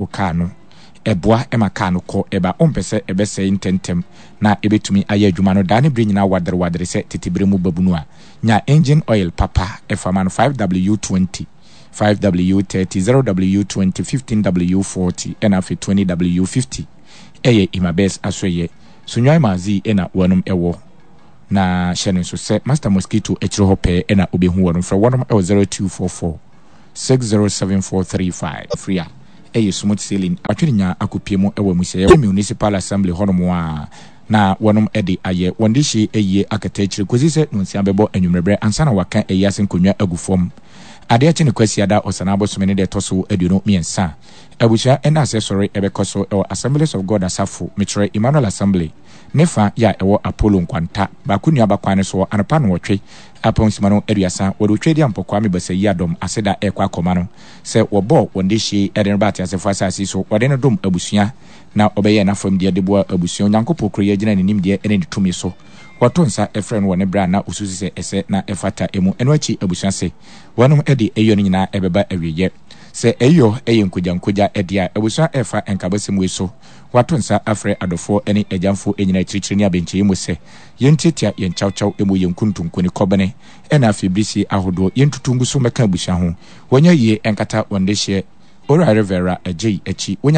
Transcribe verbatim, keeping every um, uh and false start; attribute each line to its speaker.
Speaker 1: Wo kaa no, ɛboa ma kaa no kɔ ɛba. Wompɛ sɛ ɛbɛsɛe ntɛmntɛm na ɛbɛtumi ayɛ adwuma no daa ne berɛ nyinaa waderewadere sɛ tete berɛ mu babunu a, nya engine oil papa fa ma no five W twenty, five W thirty, zero W twenty, fifteen W forty ɛna afei twenty W fifty. Ɛyɛ Imabes asoɛyɛ. Sunyani Mazi ɛna wɔnom ɛwɔ. Na hyɛ no nso sɛ Master Mosquito akyire hɔ pɛɛ ɛna wobɛhu wɔnom. Frɛ wɔnom ɛwɔ zero two four four six zero seven four three five. Free a ɛyɛ smooth sailing. Atwene nya akopie mu ɛwɔ amusieɛ Municipal Assembly hɔnom a na wɔnom ɛde ayɛ wɔn de hye ayie akata akyire kɔsi sɛ nonsia bɛbɔ anwummerɛberɛ ansa na waka ayi ase nkonnwa agu fam. Adeɛ kye ne Kwasiada Ɔsana abosome ne deɛ ɛtɔ so aduonu mmiɛnsa. Abusua ɛna asɛ sɔre ɛbɛkɔ so ɛwɔ Assemblies of God asafo, mekyerɛ Emmanuel Assembly, ne fa yɛ a ɛwɔ Apollo Nkwanta, baako nnuaba kwan no soɔ anɔpa nnɔnwɔtwe apɔn sima no aduasa. Wɔde otwa di ampɔkwaa me basa yi adɔm aseda ɛrekɔ akɔma no sɛ wɔbɔɔ wɔn dehye de no ba ateasefoɔ asase yi so. Wɔde no dom abusua na ɔbɛyɛɛ n'afam deɛ de boa abusua. Onyankopɔn kuro yi agyina ne nimdeɛ ne ne tumi so. Wɔto nsa frɛ no wɔ ne berɛ a na ɔsusu sɛ ɛsɛ na ɛfata mu. Ɛno akyi abusua se wɔnom de ayiyɔ no nyinaa ɛbɛba awieɛ. Sɛ ayiyɔ yɛ nkogyankogya deɛ a, abusua ɛrefa nkabasɛm wei so. Wɔato nsa afrɛ adɔfoɔ ne agyamfoɔ nyinaa akyirikyiri ne abɛnkyɛeɛ mu sɛ yɛntiatia yɛn kyawkyaw mu, yɛn nkuntunku ne kɔbene ɛna afei birisie ahodoɔ, yɛntutu ngu so mmɛka abusua ho. Wɔnyɛ yie nkata wɔn dehyeɛ Owura Rivera Agyei akyi. Wonya